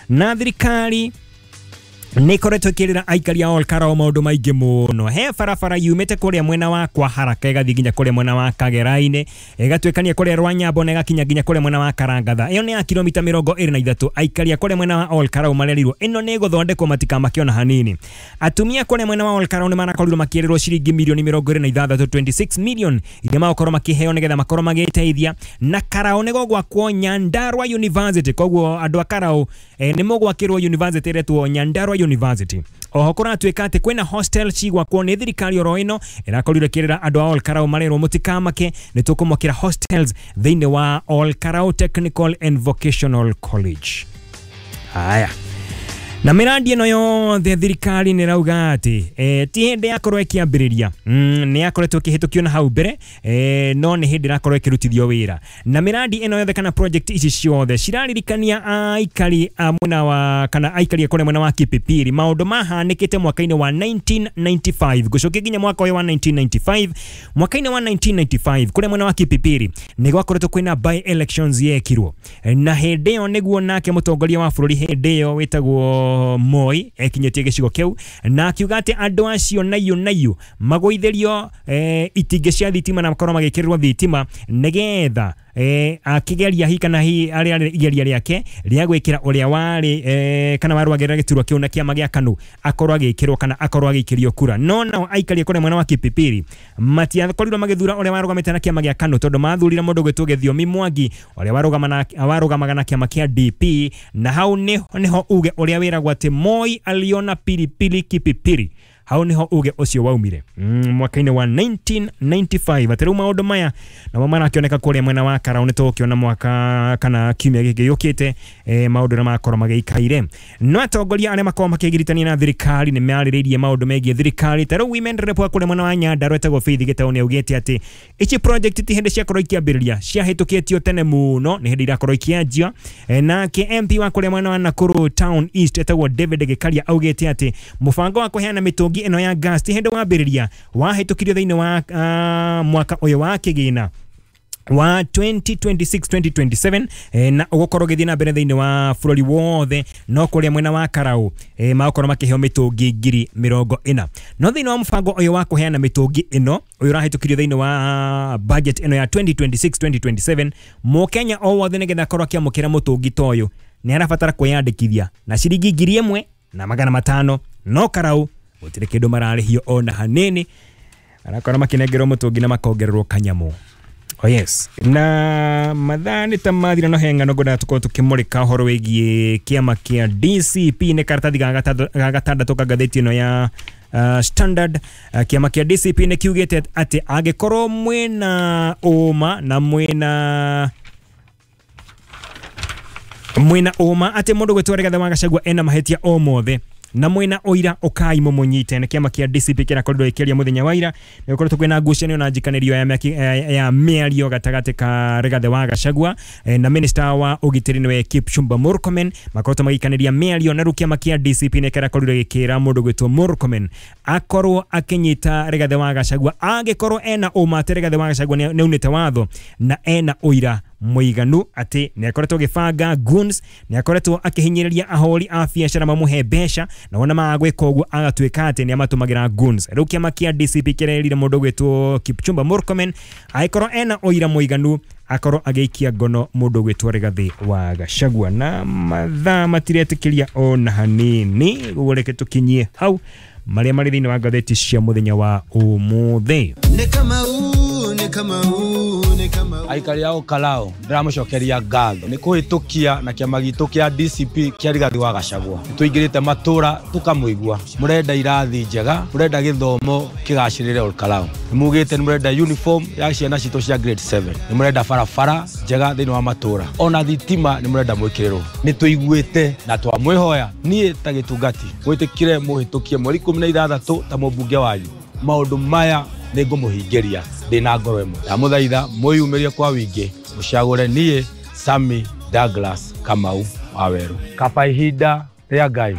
Na thirikari nä ĩkoretwo ĩkĩrĩra aikari a Olkarao maũndũ maingĩ mũno. He barabara yumĩte kũrĩa mwena wa kwa Haraka ĩgathiĩ nginya kũrĩa mwena wa Kagera-inĩ, ĩgatuĩkania kũrĩa Rwanyambo na ĩgakinya nginya kũrĩa mwena wa Karangatha. Ĩyo nĩ ya kilomita 23. Aikari a kũrĩa mwena wa Olkarao marerirwo ĩno nĩ ĩgũthondekwo matikamake ona hanini. Atumia kũrĩa mwena wa Olkarao nĩ marakorirwo makĩrĩrwo ciringi milioni 26, 26 million iria magũkorwo makĩheo nĩgetha makorwo magĩteithia. Na Karao nĩ gũgwakwo Nyandarua University, koguo andũ a Karao nĩ mũgwakĩrwo university ĩretwo Nyandarua University. Oho kũratuĩka atĩ kwĩna hostel cigwakwo nĩ thirikari oro ĩno ĩrakorirwo ĩkĩrĩra andũ a Olkarau marerwo mũtikamake, nĩ tũkũmwakĩra hostels thĩinĩ wa Olkarau Technical and Vocational College. Haya, na mĩrandi ĩno yothe thirikari nĩ ĩrauga atĩ ti hĩndĩ yakorwo ĩkĩambĩrĩria, nĩ yakoretwo ĩkĩhĩtũkio na hau mbere, no nĩ hĩndĩ ĩrakorwo ĩkĩrutithio wĩra. Na mĩrandi ĩno yothe kana project ici ciothe ciraririkania aikari a mwena wa kana aikari a kũrĩa mwena wa Kipipiri maũndũ mahanĩkĩte mwaka-inĩ wa 1995 gũcokia nginya mwaka ũyũ wa 1995. Mwaka-inĩ wa 1995 kũrĩa mwena wa Kipipiri nĩ gwakoretwo kwĩna by elections yekirwo, na hĩndĩ ĩyo nĩguo nake mũtongoria wa bũrũri hĩndĩ ĩyo wĩtagwo Moi ekinyĩtie gĩcigo kĩu na akiuga atĩ andũ acio naiũ naiũ magũithĩrio itingĩ cia thitima na makorwo magĩkĩrĩrwo thitima nĩgetha akĩgeria hi kana hi arĩa igeria rĩake rĩa gwĩkĩra ũrĩa warĩ kana warũagĩrĩra gĩturwa kĩu na kĩama gĩa KANU akorwo agĩkĩrwo kana akorwo agĩikĩrio kura. No nao aikari kũrĩa mwena wa Kipipiri matiakorirwo magĩthura ũrĩa warũgamĩte na kĩama gĩa KANU tondũ mathurire mũndũ gwĩtwo Gĩthiomi Mwangi ũrĩa warũgamaga na kĩama kĩa DP, na hau nĩho uge ũrĩa wĩragwo atĩ Moi aliona pilipili Kipipiri. Hau niho uge ũcio waumire mwaka-inĩ wa 1995. Atĩ rĩu maũndũ maya namo marakĩoneka kũrĩa mwena wa Karau, nĩ tũgũkĩona mwaka kana kiumia gĩkĩ gĩũkĩte maũndũ ũrĩa makorwo magĩikaire. No atongoria arĩa makorwo makĩgiritania na thirikari nĩ marĩrĩirie maũndũ megiĩ thirikari. Ta rĩu women rep wa kũrĩa mwena wa Nyandarua etagwo Faith Gĩtaũ nĩ augĩte atĩ ici project ti hĩndĩ ciakorwo ikĩambĩrĩria, ciahĩtũkĩtio tene mũno, nĩ hĩndĩ irakorwo ikĩanjia. Nake MP wa kũrĩa mwena wa Nakuru Town East etagwo David Gĩkaria augĩte atĩ mũbango wa kũheana mĩtũngi ĩno ya gas ti hĩndĩ wambĩrĩria, wahĩtũkirio thĩinĩ wa mwaka ũyũ wa kĩgĩna wa 2026-2027 na ũgũkorwo ũgĩthiĩ na mbere thĩinĩ wa bũrũri wothe. No kũrĩa mwena wa Karau magũkorwo makĩheo mĩtũngi 40,000. No thĩinĩ wa mũbango ũyũ wa kũheana mĩtũngi ĩno ũyũ ũrahĩtũkirio thĩinĩ wa budget ĩno ya 2026-2027, mũkenya o wothe nĩgetha akorwo akĩamũkĩra mũtũngi ta ũyũ nĩ arabatara kwĩyandĩkithia na ciringi 1,500. No Karau gũtirĩ kĩndũ mararĩhio ona hanini, arakorwo makĩnengerwo mũtũngi na makongererwo kanyamũ. Oh yes, na mathaa nĩ ta mathira, no he ng'ano ngwendaga tũkorwo tũkĩmũrĩka ũhoro wĩgiĩ kĩama kĩa DCP. Nĩ karatathi ga gatandatũ ka ngathĩti ĩno ya Standard. Kĩama kĩa DCP nĩ kiugĩte atĩ angĩkorwo mwĩna ũma na mwĩna ũma atĩ mũndũ gwĩtwo Rigathĩ wa Gachagua ena mahĩtia o mothe na mwena ũira ũkai mũmũnyite. Nĩ kĩama kĩa DCP kĩrakorirwo gĩkĩaria mũthenya wa ira, nĩ gũkoretwo kwĩna ngucanio na njikanĩrio ya mĩario gatagatĩ ka Rigathĩ wa Gachagua na minister wa ũgitĩri nĩwe Kipchumba Murkomen. Makoretwo magĩikanĩria mĩario, na rĩu kĩama kĩa DCP nĩ kĩrakorirwo gĩkĩra mũndũ gwĩtwo Murkomen akorwo akĩnyita Rigathĩ wa Gachagua angĩkorwo ena ũma atĩ Rigathĩ wa Gachagua nĩ aunĩte watho na ena ũira mũiganu atĩ nĩ akoretwo agĩbanga goons, nĩ akoretwo akĩhinyĩrĩria ahũri a biacara mamũhe mbeca, na wona maga gwĩka ũguo agatuĩka atĩ nĩ amatũmagĩra goons. Rĩu kĩama kĩa DCP kĩrerire mũndũ gwĩtwo Kipchumba Murkomen angĩkorwo ena ũira mũiganu akorwo agĩikia ngono mũndũ gwĩtwo Rigathĩ wa Gachagua. Na mathaa matiretĩkĩria ona hanini, ũguo reke tũkinyie hau marĩa marĩ thĩinĩ wa ngathĩti cia mũthenya wa ũmũthĩ. Aikari a Olkarau ndĩramũcokeria ngatho nĩ kũhĩtũkia na kĩama gitũ kĩa DCP kĩa Rigathĩ wa Gachagua. Nĩtũingĩrĩte matũra tũkamũigua, mũrenda irathi njega, mũrenda gĩthomo kĩgacĩrĩre Olkarau, nĩmugĩte nĩmũrenda uniform ya ciana citũ cia grade 7, nĩmũrenda barabara njega thĩinĩ wa matũra, ona thitima nĩmũrenda mwĩkĩrĩrwo. Nĩtũiguĩte na twamwĩhoya niĩ ta gĩtungati mwĩtĩkĩre mũhĩtũkie mweri 16 ta mũmbunge wanyu. Maũndũ maya nĩngũmũhingĩria ndĩna ngoro ĩmwe. Ndamũthaitha mwĩyumĩrie kwa wĩingĩ mũcagũre niĩ Sammy Douglas Kamau wa Weru. Kaba ihinda rĩa Ngai.